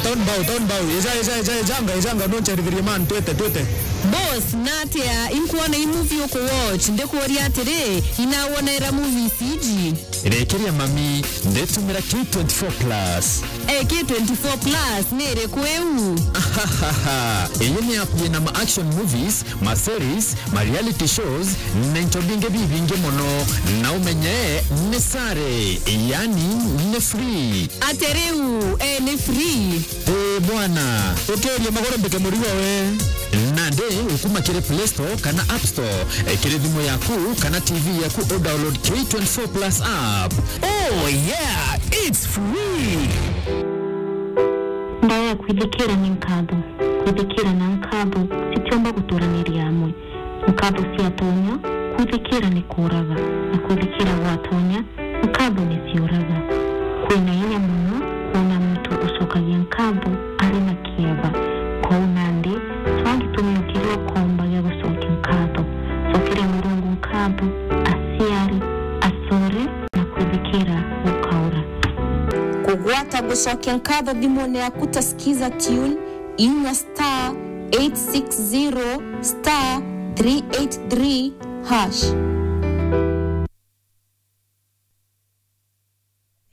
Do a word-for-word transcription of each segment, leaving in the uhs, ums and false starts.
Don't bow, don't bow. Eja, eja, eja, ejanga, ejanga, noncherithirie man, twete, twete. Boss, natia inkuona i movie uku watch, ndikuuria atiri, inawonera movies iji? Rekeria mami, ndetumira K twenty-four plus. Eh, K twenty-four plus ni iriku iu? Ahahaha. Iyi ni app yina ma action movies, ma series, ma reality shows, na into bingi bibingi mono. Na umenye ni sare, yani ni free. Ati riu, eh, ni free? Ii bwana, ukiria magoro mbike murigo we. Nandi ukuma kiri Play Store kana App Store, eh, kiri thimu yaku kana T V yaku, u download K twenty-four plus app. Oh yeah, it's free. Ndaya kwithikira ni nkatho. Kwithikira na nkatho citiumba guturaniria amwe. Nkatho ciatonya, kwithikira ni kuuraga, na kwithikira gwatonya, nkatho ni ciuraga. Kwina inya mono kwona muntu ucokagia nkatho ari na kieba. Kwou nandi, cwaa gitumi o kiria ukomba gia gucokia nkatho. Cokeria Murungu nkatho, aciari, acore, na kwithikira gukaura. Kugwata gucokia nkatho thimune yaku ta Skiza Tune, inya star eight six zero star three eight three hash.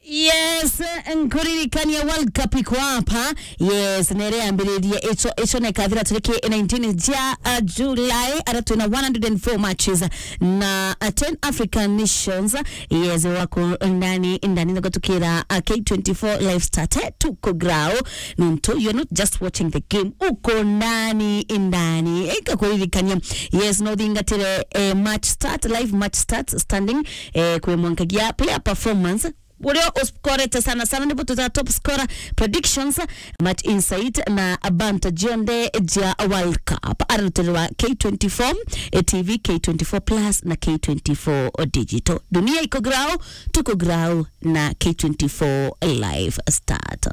Yes, nkuririkania World Cup iko hapa. Yes, nere ambiririe icho, icho ne kathira tariki nineteen ja, uh, July, ara twina one hundred and four matches na, uh, ten African nations. Yes, wako ndani, ndani na kutukira, uh, K twenty-four live start, eh, tuko grao. Nontu, you're not just watching the game, uko ndani, ndani. Ikakuririkania, yes, no thingatire, eh, match start, live match start standing, eh, kwi mwankagia player performance. Uria uskorete sana sana nibo tuta top scorer predictions, match insight na abanta jionde ja World Cup. Arutirwa K twenty-four, eh, T V, K twenty-four plus na K twenty-four digital. Dunia iko grao, tuko grao na K twenty-four live start.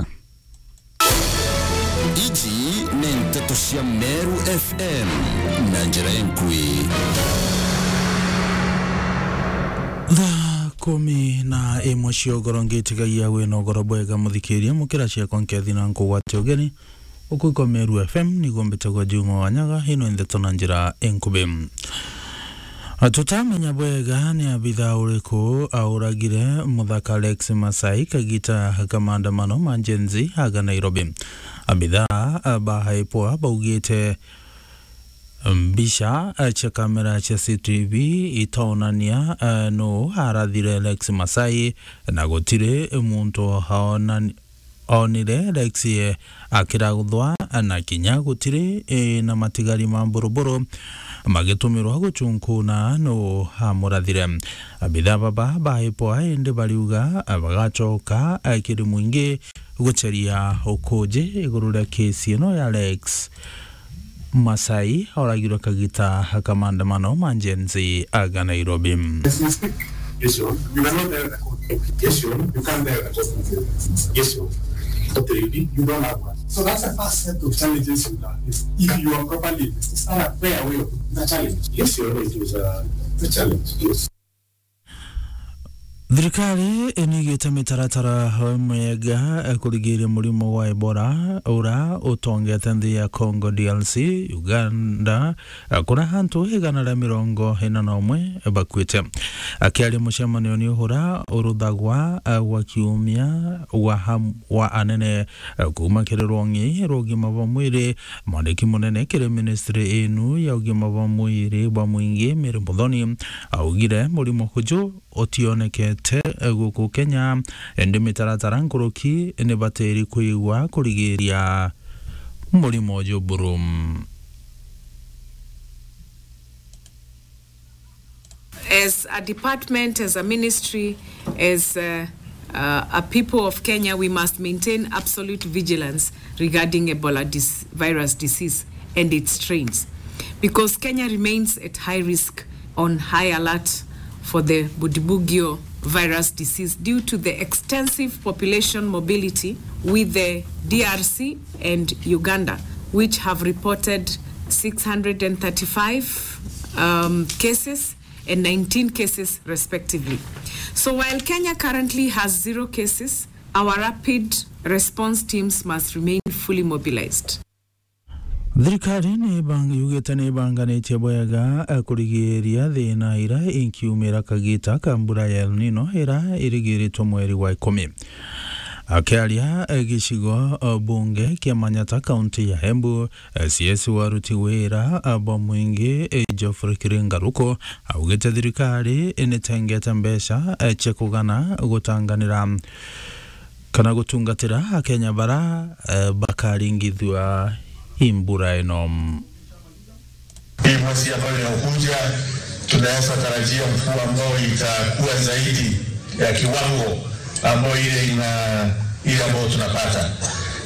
Iji ni nteto cia Meru F M na njira inkui. Thaa kumi na imwe cia ugoro, ngitigagia wina ugoro bwega, muthikiria, mukira ciakwa nkethi na nkugwatia ugeni. Uku iko Meru F M, niguo mbitagwa Juma Wanyaga, ino ndeto na njira inkubi. Tutamenya bwega ni abitha uriku auragire muthaka Lex Masai kagita ka maandamano ma Gen Z aga Nairobi. Abitha ba IPOA baugite mbica cia kamera cia C C T V itaonania nu arathire Lex Masai, na gutiri muntu aonani- onire Lex, eh, akiraguthwa, na kinya gutiri, eh, na matigari ma mburuburu magitumirwa guchunkuna nu amurathire. Abitha baba ba IPOA indi bariuga, eh, bagacoka, eh, kiri mwingi gucheria ukuji iguru ria kesi ino ya Lex Masai oragirwe kagita ka maandamano ma Gen Z aga Nairobi. Yes, you cannot direct a court application. You can't direct a court application. Yes, you. But you, you don't have one. So that's the first set of challenges you have. If, if you are properly, it's not a fair way of the challenge. Yes, you know, it was a, a challenge. Yes. Thirikari inigite mitaratara mega kurigiria murimo wa Ebola ura utongete nthi ya Congo D R C, Uganda, kuria antu igana ria mirongo ina na umwe bakuite. Akiaria mucemanio ni uhura uruthagwa gwa kiumia wa ham-, wa anene kuma kiri rwong'i rwa ugima bwa mwiri, mwandiki munene kiri ministry inu ya ugima bwa mwiri bwa mwingi, Mary Muthoni, augire murimo uju utionekete guku Kenya, indi mitaratara nkuruki nibatiri kwigwa kurigiria murimo uju buru. As a department, as a ministry, as, uh, uh, a people of Kenya, we must maintain absolute vigilance regarding Ebola dis-, virus disease and its strains, because Kenya remains at high risk, on high alert for the Bundibugyo virus disease due to the extensive population mobility with the D R C and Uganda, which have reported six hundred and thirty-five, um, cases and nineteen cases respectively. So while Kenya currently has zero cases, our rapid Response teams must remain fully mobilized. Thirikari ni ibang-, yugite ni ibanganitie bwega, eh, kurigiria thina ira inkiumira kagita ka mbura ya El Nino ira irigiritwe mweri wa ikumi. Akiaria, eh, gicigo, eh, bunge kia Manyata, kaunti ya Embu, eh, C S wa aruti wira, eh, bwa mwingi, eh, Geoffrey Kiringa Ruku, augite thirikari initengete mbeca, eh, cia kugana gutanganira kana gutungatira Akenya bara, eh, bakaringithua i mbura ino. Hii mwezi ambayo inayokuja, tunaweza tarajia mvua ambayo itakuwa zaidi ya kiwango ambayo ile ina-, ile ambayo tunapata.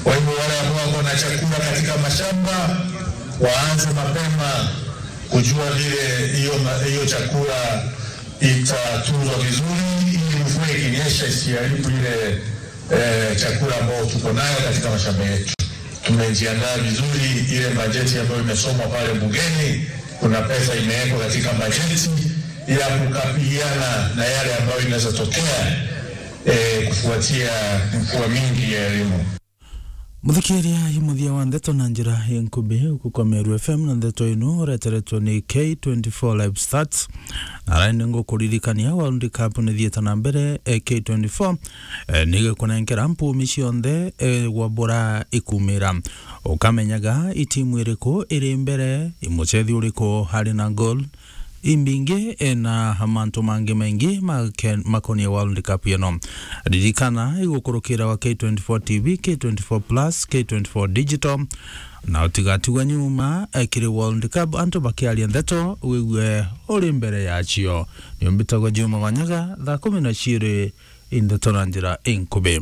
Kwa hivyo wale ambao wako na chakula katika mashamba, waanze mapema kujua vile hiyo ma-, hiyo chakula itatunzwa vizuri, ili mvua ikinyesha isiharibu ile, eh, chakula ambayo tuko nayo katika mashamba yetu. Tumejiandaa vizuri, ile bajeti ambayo imesomwa pale bungeni, kuna pesa imewekwa katika bajeti ya kukabiliana na yale ambayo inaweza tokea, eh, kufuatia mvua mingi ya El Nino. Muthikiria, i muthia wa ndeto na njira inkubi, uku kwa Meru F M, na ndeto inu ureteretwe ni K twenty-four Live Stats. Na rindi ngukuririkania, World Cup nithiite na mbere, eh, K twenty-four, eh, nigikunenkera mpumi cionthe, eh, gwa bura ikumira. Ukamenyaga i timu iriku iri mbere, i mucethi uriku ari na goal imbingi, eh, na mantu mangi maingi make-, makonie World Cup ino. Ririkana, igukurukira wa K twenty-four T V, K twenty-four Plus, K twenty-four Digital, na utigatigwa nyuma, eh, kiri World Cup, antu bakiaria ndeto, wigue uri mbere yacio. Ni mbitagwa Juma Wanyaga, thaa kumi na ciiri, i ndeto na njira inkubi.